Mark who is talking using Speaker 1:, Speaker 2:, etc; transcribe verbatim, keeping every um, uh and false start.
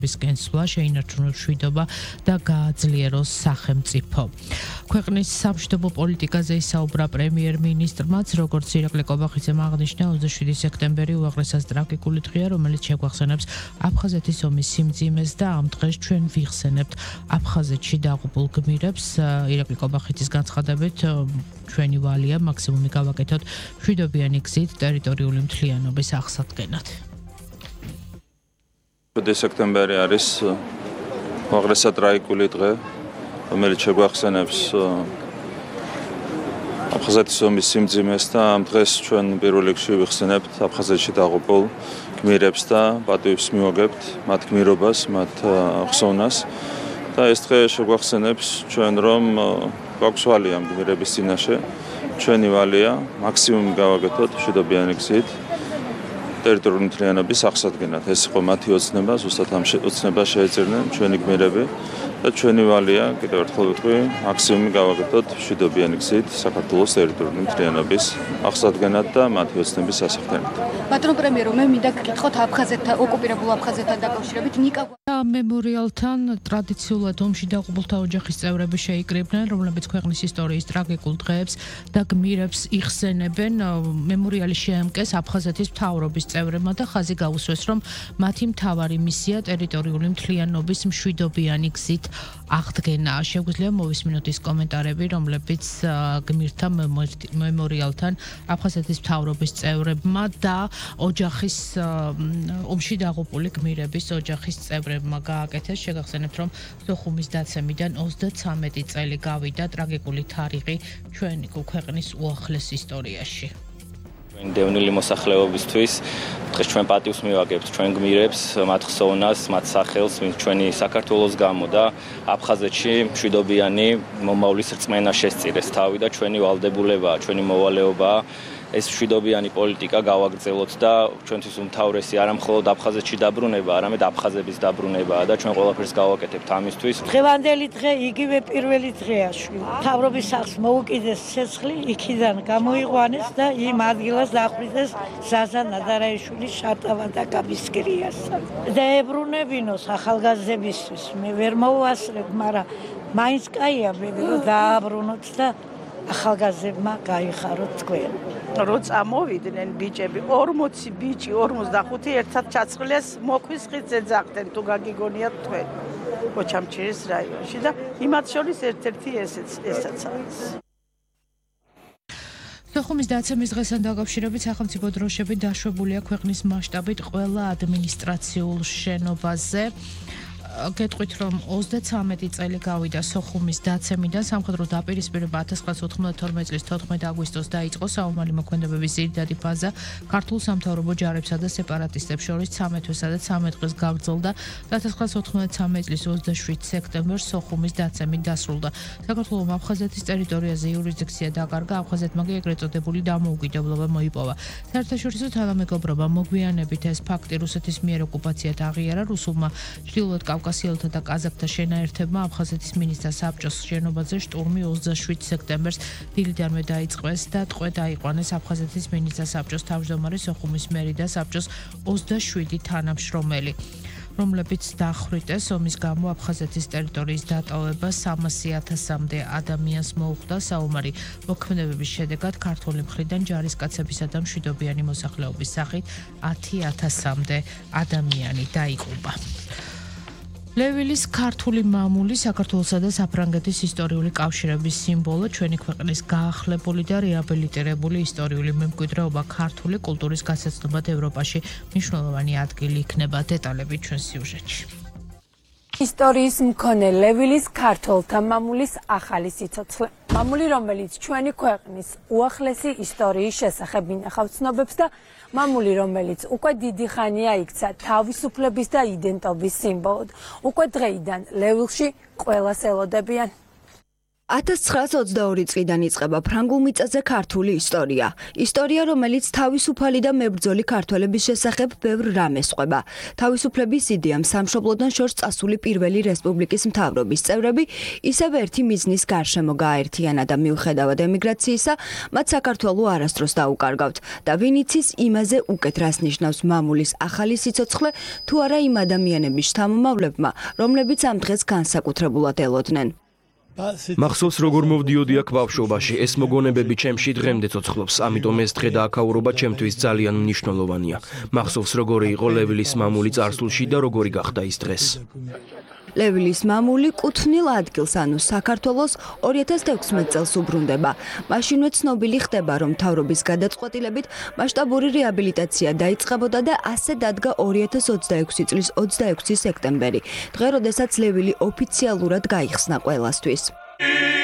Speaker 1: გენსვლა შეინარჩუნოს მშვიდობა და გააძლიეროს სახელმწიფო. ქვეყნის სამშვიდობო პოლიტიკაზე ისაუბრა პრემიერ-მინისტრმაც, როგორც ირაკლი კობახიძემ აღნიშნა, ოცდაშვიდი სექტემბერი უაღრესად ტრაგიკული დღეა, რომელიც შეგვახსენებს აფხაზეთის ომის სიმძიმეს და ამ დღეს ჩვენ ვიხსენებთ აფხაზეთში დაღუპულ გმირებს. ირაკლი კობახიძის განცხადებით, ჩვენი ვალია მაქსიმუმი გავაკეთოთ მშვიდობიანი გზით ტერიტორიული მთლიანობის აღსადგენად.
Speaker 2: ოცდაშვიდი სექტემბერი არის უაღრესად ტრაგიკული დღე, რომელიც შეგვახსენებს აფხაზეთის ომის სიმძიმეს და ამ დღეს ჩვენ პირველ რიგში ვიხსენებთ აფხაზეთში დაღუპულ გმირებს და პატივს მივაგებთ მათ გმირობას, მათ ხსოვნას და ეს დღე შეგვახსენებს ჩვენ რომ გვაქვს ვალია ამ გმირების წინაშე, ჩვენი ვალია მაქსიმუმი გავაკეთოთ მშვიდობიანი გზით ტერიტორიული მთლიანობის აღსადგენად. ეს იყო მათი ოცნება, ზუსტად ამ ოცნებას შეეძებნენ ჩვენი გმირები და ჩვენი ვალია, კიდევ ერთხელ ვიტყვი, მაქსიმუმი გავაკეთოთ მშვიდობიანი გზით საქართველოს ტერიტორიული მთლიანობის აღსადგენად და მათი ოცნების სასახდენად.
Speaker 3: ბატონო პრემიერო, მე მინდა გკითხოთ აფხაზეთთან, ოკუპირებულ აფხაზეთთან დაკავშირებით ნიკა
Speaker 1: მემორიალთან ტრადიციულად ომში დაღუპულთა ოჯახის წევრები შეიკრიბნენ, რომლებიც ქვეყნის ისტორიის ტრაგიკულ დღეებს და გმირებს იხსენებენ. მემორიალი შეემკეს აფხაზეთის მთავრობის წევრებმა და ხაზი გაუსვეს, რომ მათი მთავარი მისია ტერიტორიული მთლიანობის მშვიდობიანი გზით აღდგენა. შეგვიძლია მოვისმინოთ ის კომენტარები, რომლებიც გმირთა მემორიალთან აფხაზეთის მთავრობის წევრებმა და ოჯახის ომში დაღუპული გმირების ოჯახის წევრებმა გააკეთეს. შეგახსენებთ, რომ სოხუმის დაცემიდან ოცდაცამეტი წელი გავიდა ტრაგიკული თარიღი ჩვენი ქვეყნის უახლეს ისტორიაში.
Speaker 4: დევნილი მოსახლეობისთვის დღეს ჩვენ პატივს მივაგებთ ჩვენ გმირებს, მათ ხსოვნას, მათ სახელს, ვინც ჩვენი საქართველოს გამო და აფხაზეთში მშვიდობიანი მომავლის რწმენა შესწირეს თავი და ჩვენი ვალდებულებაა, ჩვენი მოვალეობაა ეს მშვიდობიანი პოლიტიკა გავაგრძელოთ და ჩვენთვის უმთავრესი არა მხოლოდ აფხაზეთში დაბრუნება, არამედ აფხაზების დაბრუნებაა და ჩვენ ყველაფერს გავაკეთებთ ამისთვის.
Speaker 5: დღევანდელი დღე იგივე პირველი დღეა. მთავრობის სახლს მოუკიდეს ცეცხლი, იქიდან გამოიყვანეს და იმ ადგილას დახვიდეს ზაზა ნადარაიშვილის შარტავა და გაბისკრიას. და ებრუნებინოს ახალგაზრდებისთვის. მე ვერ მოვასწრებ, მაგრამ მაინც კაია ბედი რომ დააბრუნოთ და ახალგაზრდებმა გაიხაროთ თქვენ.
Speaker 6: რო წამოვიდნენ ბიჭები, ორმოცი ბიჭი, ორმოცდახუთი ერთად ჩაცხლეს, მოქვის ხით ეძახდნენ, თუ გაგიგონიათ თქვენ. ოჩამჩირის რაიონში და იმათ შორის ერთ-ერთი ესეც ესაც არის.
Speaker 1: სოხუმის დაცემის დღესთან დაკავშირებით სახელმწიფო დროშები დაშვებულია ქვეყნის მასშტაბით ყველა ადმინისტრაციულ შენობაზე. გეტყვით, რომ ოცდაცამეტი წელი გავიდა სოხუმის დაცემიდან, სამხედრო დაპირისპირება ათას ცხრაასი ოთხმოცდათორმეტი წლის თოთხმეტი აგვისტოს დაიწყო. საომარი მოქმედებების ძირითადი ფაზა ქართულ სამთავრობო ჯარებსა და სეპარატისტებს შორის ცამეტ თვესა და ცამეტ დღეს გაგრძელდა და ათას ცხრაასი ოცდათვრამეტი წლის ოცდაშვიდ სექტემბერს სოხუმის დაცემით დასრულდა. საქართველოს აფხაზეთის ტერიტორიაზე იურისდიქცია დაკარგა, აფხაზეთმა კი ეგრეთ წოდებული დამოუკიდებლობა მოიპოვა. საერთაშორისო თანამეგობრობა მოგვიანებით ეს ფაქტი რუსეთის მიერ ოკუპაციად აღიარა, რუსულმა ჩრდილოეთ კავკასიელთა და კაზაკთა შენაერთებმა აფხაზეთის მინისტრთა საბჭოს შენობაზე შტურმი ოცდაშვიდ სექტემბერს დილიდანვე დაიწყეს და ტყვე დაიყვანეს აფხაზეთის მინისტრთა საბჭოს თავმჯდომარე, სოხუმის მერი და საბჭოს ოცდაშვიდი თანამშრომელი, რომლებიც დახვრიტეს. ომის გამო აფხაზეთის ტერიტორიის დატოვება სამასი ათასამდე ადამიანს მოუხდა. საომარი მოქმედებების შედეგად ქართული მხრიდან ჯარისკაცებისა და მშვიდობიანი მოსახლეობის სახით ათი ათასამდე ადამიანი დაიღუპა. ლევილის ქართული მამული საქართველოსა და საფრანგეთის ისტორიული კავშირების სიმბოლო, ჩვენი ქვეყნის გაახლებული და რეაბილიტირებული ისტორიული მემკვიდრეობა ქართული კულტურის გასაცნობად ევროპაში მნიშვნელოვანი ადგილი იქნება. დეტალები ჩვენ სიუჟეტში.
Speaker 7: ისტორიის მქონე ლევილის ქართველთა მამულის ახალი სიცოცხლე. მამული, რომელიც ჩვენი ქვეყნის უახლესი ისტორიის შესახებ ინახავს ცნობებს და მამული, რომელიც უკვე დიდი ხანია იქცა თავისუფლების და იდენტობის სიმბოლოდ. უკვე დღეიდან ლევილში ყველას ელოდებიან.
Speaker 8: ათას ცხრაას ოცდაორი წლიდან იწყება ფრანგულ მიწაზე ქართული ისტორია. ისტორია, რომელიც თავისუფალი და მებრძოლი ქართველების შესახებ ბევრ რამეს ყვება. თავისუფლების იდეამ სამშობლოდან შორს წასული პირველი რესპუბლიკის მთავრობის წევრები ისევ ერთი მიზნის გარშემო გააერთიანა და მიუხედავად ემიგრაციისა, მათ საქართველო არასდროს დაუკარგავთ და ვინ იცის იმაზე უკეთ რას ნიშნავს მამულის ახალი სიცოცხლე თუ არა იმ ადამიანების შთამომავლებმა, რომლებიც ამ დღეს განსაკუთრებულად ელოდნენ.
Speaker 9: მახსოვს როგორ მოვდიოდი აქ ბავშვობაში, ეს მოგონებები ჩემში დღემდე ცოცხლობს, ამიტომ ეს დღე და აქაურობა ჩემთვის ძალიან მნიშვნელოვანია. მახსოვს როგორი იყო ლევილის მამული წარსულში და როგორი გახდა ის დღეს.
Speaker 8: ლევილის მამული კუთვნილ ადგილს, ანუ საქართველოს ორი ათას თექვსმეტ წელს უბრუნდება. მაშინვე ცნობილი ხდება, რომ მთავრობის გადაწყვეტილებით მასშტაბური რეაბილიტაცია დაიწყებოდა და ასე დადგა ორი ათას ოცდაექვსი წლის ოცდაექვსი სექტემბერი, დღე, როდესაც ლევილი ოფიციალურად გაიხსნა ყველასთვის.